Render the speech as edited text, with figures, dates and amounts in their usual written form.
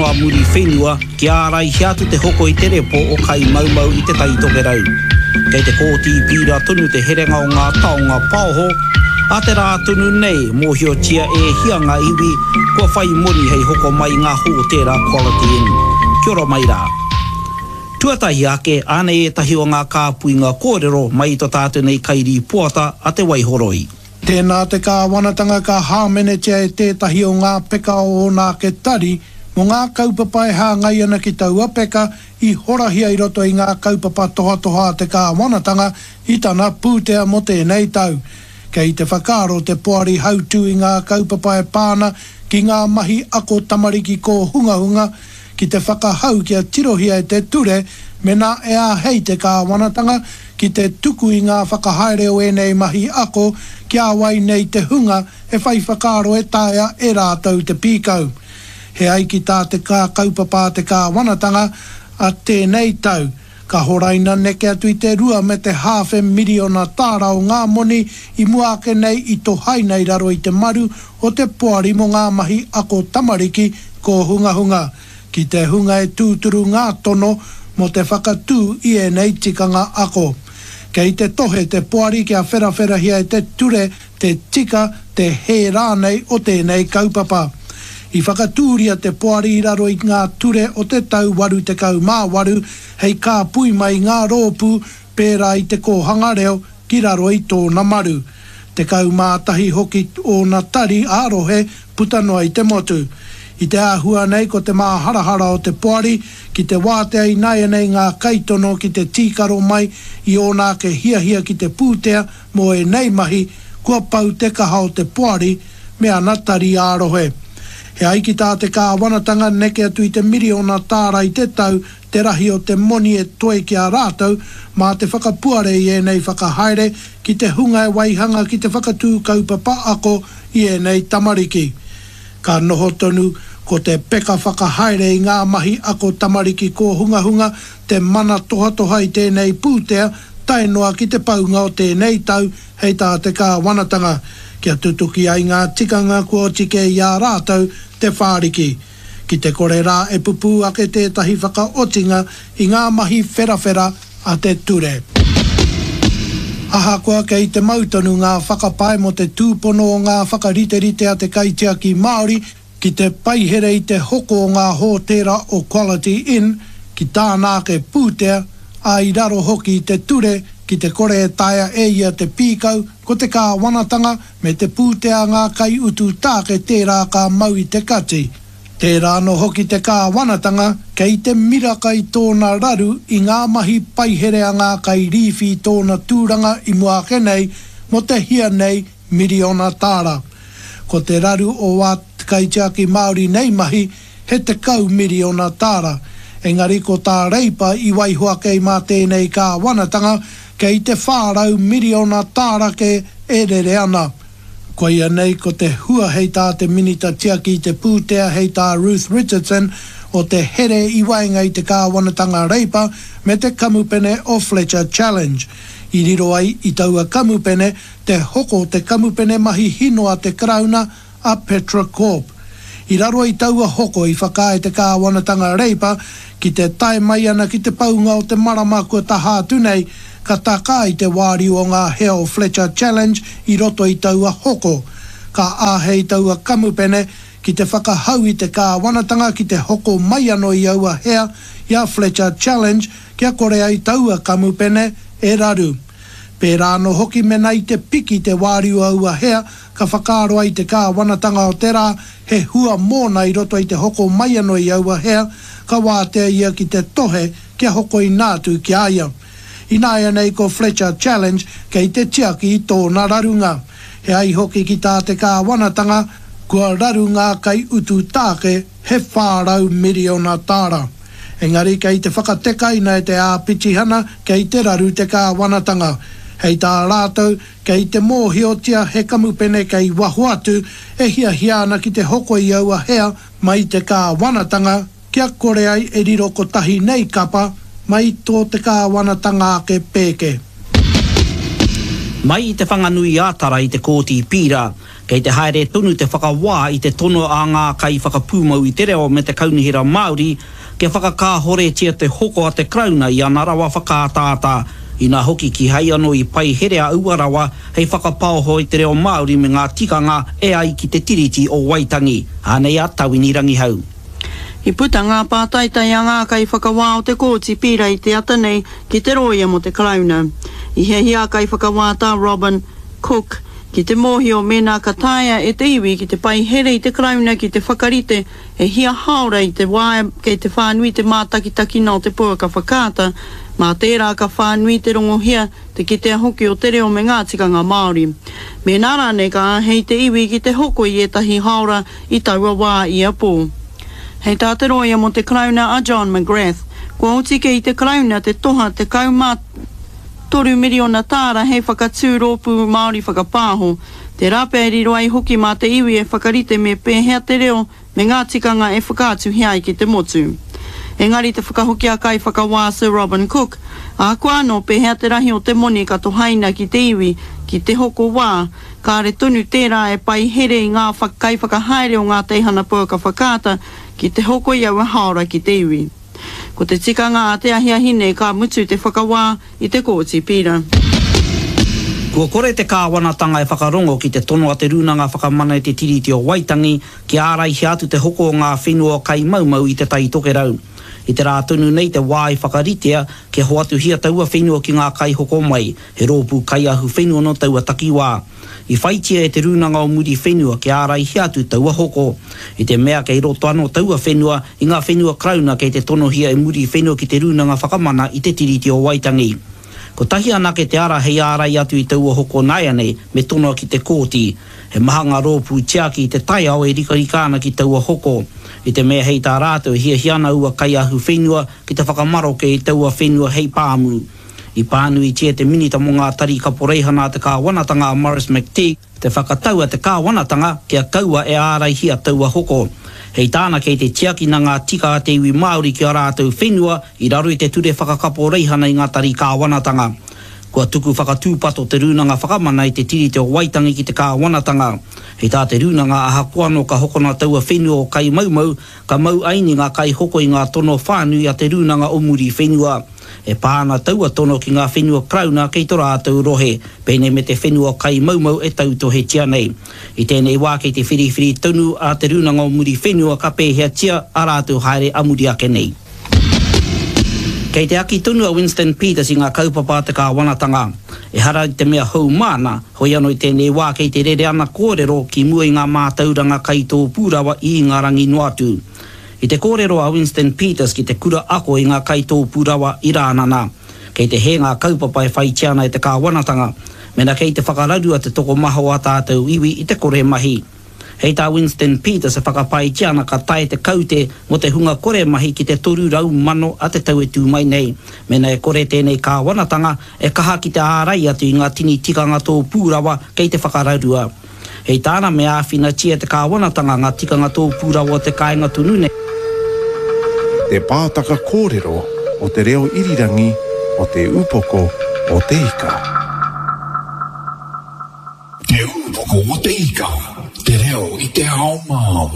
tono a Muriwhenua kia āraihia atu te hoko i te repo o Kaimaumau i Te Tai Tokerau. Kei te Kōti Pīra tonu te herenga o ngā taonga paoho, ā te rā tonu nei mōhiotia e hia ngā iwi kua whai moni hei hoko mai i ngā hōtēra Quality Inn. Kia ora mai rā. Tuatahi ake, ānei ētahi o ngā kāpuinga kōrero mai i to tātou nei kairīpoata a Te Waihoroi. Tēnā te kāwanatanga ka hāmenetia e tētahi o ngā peka o ōna ake tari mō ngā kaupapa e hāngai ana ki taua peka i horahia i roto i ngā kaupapa tohatoha a te kāwanatanga i tana pūtea mō tēnei tau. Kei te whakaaro te Poari Hautū i ngā kaupapa e pā ana ki ngā mahi ako tamariki kōhungahunga ki te whakahau kia tirohia e te ture mena e āhei te kāwanatanga ki te tuku i ngā whakahaere o ēnei mahi ako ki a wai nei te hunga e whai whakaaro e taea e rātou te pīkau. He ai ki tā te kā kaupapa a te kāwanatanga a tēnei tau, ka horaina neke atu i te rua me te hāwhe miriona tāra o ngā moni i mua ake nei i tohaina i raro i te maru o te Poari mō ngā Mahi Ako Tamariki Kōhungahunga. ki te hunga e tūturu ngā tono mō te whakatū i ēnei tikanga ako. Kei te tohe te Poari kia wherawherahia e te ture te tika, te hē rānei o tēnei kaupapa. I whakatūria te Poari i raro i ngā ture o te tau 88 hei kāpui mai i ngā rōpū pērā i te kōhanga reo ki raro i tōna maru. 11 hoki ōna tari ā-rohe puta noa i te motu. I te āhua nei ko te māharahara o te poari ki te wātea ināianei ngā kaitono ki te tīkaro mai i ōna ake hiahia ki te pūtea mō ēnei mahi, kua pau te kaha o te poari me ana tari ā-rohe. E ai ki tā te kāwanatanga neke atu i te miriona tāra i te tau te rahi o te moni e toe ki a rātou mā te whakapuare i ēnei whakahaere ki te hunga e waihanga ki te whakatū kaupapa ako i ēnei tamariki. Ka noho tonu ko te peka whakahaere i ngā mahi ako tamariki kōhungahunga te mana tohatoha i tēnei pūtea tae noa ki te paunga o tēnei tau hei tā te kāwanatanga, kia tutuki ai ngā tikanga kua oti kē i a rātou te whāriki. Ki te kore rā e pupū ake tētahi whakaotinga i ngā mahi wherawhera a te ture. Ahakoa kei te mau tonu ngā whakapae mō te tūpono o ngā whakariterite a te kaitiaki Māori ki te paihere i te hoko o ngā hōtēra o Quality Inn ki tāna ake pūtea, ā, i raro hoki i te ture ki te kore e taea e ia te pīkau ko te kāwanatanga me te pūtea a ngā kaiutu tāke tērā ka mau i te kati. Tērā anō hoki te kāwanatanga kei te miraka i tōna raru i ngā mahi paihere a ngā kairīwhi i tōna tūranga i mua ake nei mō te hia nei miriona tāra. Ko te raru o ā te Kaitiaki Māori nei mahi he 10 miriona tāra. Engari ko tā Reipa i waiho ake mā tēnei kāwanatanga kei te 400 miriona tāra kē e rere ana. Koia nei ko te hua hei tā te Minita Tiaki i te Pūtea hei tā Ruth Richardson o te here i waenga i te kāwanatanga Reipa me te kamupene o Fletcher Challenge. I riro ai i taua kamupene te hoko te kamupene mahi hino a te Karauna a Petra Corp. I raro i taua hoko i whakaae te kāwanatanga Reipa ki te tae mai ana ki te paunga o te marama kua taha atu nei, ka takā i te wāriu o ngā hea o Fletcher Challenge i roto i taua hoko. Ka āhei taua kamupene ki te whakahau i te kāwanatanga ki te hoko mai ano i aua hea i a Fletcher Challenge kia kore ai taua kamupene e raru. Pērā anō hoki mena i te piki te wāriu o aua hea ka whakaaro ai te kāwanatanga o te rā he hua mōna i roto i te hoko mai anō i aua hea, ka wātea ia ki te tohe kia hokoina atu ki a ia. Ināianei ko Fletcher Challenge kei te tiaki i tōna rarunga. He ai hoki ki tā te kāwanatanga, kua raru ngā kaiutu tāke he 400 miriona tāra. Engari kei te whakatekaina e te āpitihana kei te raru te kāwanatanga. Hei tā rātou, Kei te mōhiotia he kamupene kei waho atu e hiahia ana ki te hoko i aua hea mai i te kāwanatanga kia kore ai e riro kotahi nei kapa mai i tō te kāwanatanga ake pēke. Mai i Te Whanganui-ā-Tara i te Kōti Pīra. Kei te haere tonu te whakawā i te tono a ngā kaiwhakapūmau i te reo me te Kaunihera Māori kia whakakāhoretia te hoko a te Karauna i ana rawa whakaataata, inā hoki kīhai anō i paiherea aua rawa hei whakapaoho i te reo Māori me ngā tikanga e ai ki te Tiriti o Waitangi. Anei a Tawini Rangihau. I puta ngā pātaitai a ngā kaiwhakawā o te Kōti Pīra i te ata nei ki te rōia mō te Karauna. I hiahia a Kaiwhakawā Tā Robin Cook ki te mōhio mēnā ka taea e te iwi ki te paihere i te Karauna ki te whakarite e hia hāora i te wā kei te whānui te mātakitakina o te pouaka whakaata, mā tērā ka whānui te rongohia, te kitea hoki o te reo me ngā tikanga Māori. Mēnā rānei ka āhei te iwi ki te hoko i ētahi hāora i taua wā ia pō. Hei tā te rōia mō te Karauna a John McGrath, kua oti kē i te Karauna te toha 13 miriona tāra hei whakatū rōpū Māori whakapāho, tērā pea e riro ai hoki mā te iwi e whakarite me pēhea te reo me ngā tikanga e whakaatuhia ai ki te motu. Engari te whakahoki a Kaiwhakawā Sir Robin Cook, ahakoa anō pēhea te rahi o te moni ka tohaina ki te iwi ki te hoko wā, kāre tonu tērā e pai here i ngā kaiwhakahaere o ngā teihana pouaka whakaata ki te hoko i aua hāora ki te iwi. Ko te tikanga a te ahiahi nei ka mutu te whakawā i te Kōti Pīra. Kua kore te kāwanatanga e whakarongo ki te tono a Te Rūnanga Whakamana i te Tiriti o Waitangi kia āraihia atu te hoko o ngā whenua kaimaumau i Te Tai Tokerau. I te rā tonu nei te wā i whakaritea kia hoatuhia taua whenua ki ngā kaihoko mai, he rōpū kaiahuwhenua nō taua takiwā. I whaitia e Te Rūnanga o Muriwhenua kia āraihia atu taua hoko, i te mea kei roto anō taua whenua i ngā whenua Karauna kei te tonohia e Muriwhenua ki Te Rūnanga Whakamana i Te Tiriti o Waitangi. Kotahi anake te ara hei ārai atu i taua hoko nāianei, me tonoa ki te kōti. He maha ngā rōpū tiaki i te taiao e rikarika ana ki taua hoko, i te mea hei tā rātou e hiahia ana aua kaiahuwhenua ki te whakamaroke i taua whenua hei pāmu. I pānuitia te Minita mō ngā Tari Kaporeihana a te Kāwanatanga a Maurice McTigue, te whakatau a te Kāwanatanga kia kaua e āraihia taua hoko. Hei tāna kei te tiakina ngā tika a te iwi Māori ki ā rātou whenua i raro i te Ture Whakakaporeihana i ngā Tari Kāwanatanga. Kua tuku whakatūpato te Rūnanga Whakamana i te Tiriti o Waitangi ki te Kāwanatanga. Hei tā te Rūnanga ahakoa anō ka hokona taua whenua o Kaimaumau, ka mau aini ngā kaihoko i ngā tono whānui a te Rūnanga o Muriwhenua. E pā ana taua tono ki ngā whenua Karauna kei to rātou rohe, pēnei me te whenua Kaimaumau e tautohetia nei. I tēnei wā kei te whiriwhiri tonu a Te Rūnanga o Muriwhenua ka pēheatia ā rātou haere a muri ake nei. Kei te aki tonu a Winston Peters i ngā kaupapa a te kāwanatanga. Ehara i te mea hou māna, hoi anō i tēnei wā kei te rere ana kōrero ki mua i ngā mātauranga kaitōpū rawa i Ingarangi noa atu. I te kōrero a Winston Peters ki te kura ako i ngā kaitōpū rawa i Rānana, kei te hē ngā kaupapa e whaitia ana e te kāwanatanga, mena kei te whakararua te tokomaha o ā tātou iwi i te kore mahi. Hei tā Winston Peters e whakapaetia ana ka tae te kaute mō te hunga kore mahi ki te 300,000 a te tau e tū mai nei, mena e kore tēnei kāwanatanga e kaha ki te ārai atu i ngā tini tikanga tōpū rawa kei te whakararua. Hei tāna me āwhinatia e te kāwanatanga ngā tikanga tōpū rawa o te kāinga tonu nei. Te pātaka kōrero o te reo irirangi o Te Upoko o Te Ika. Te Upoko o Te Ika, te reo i te ao Māori.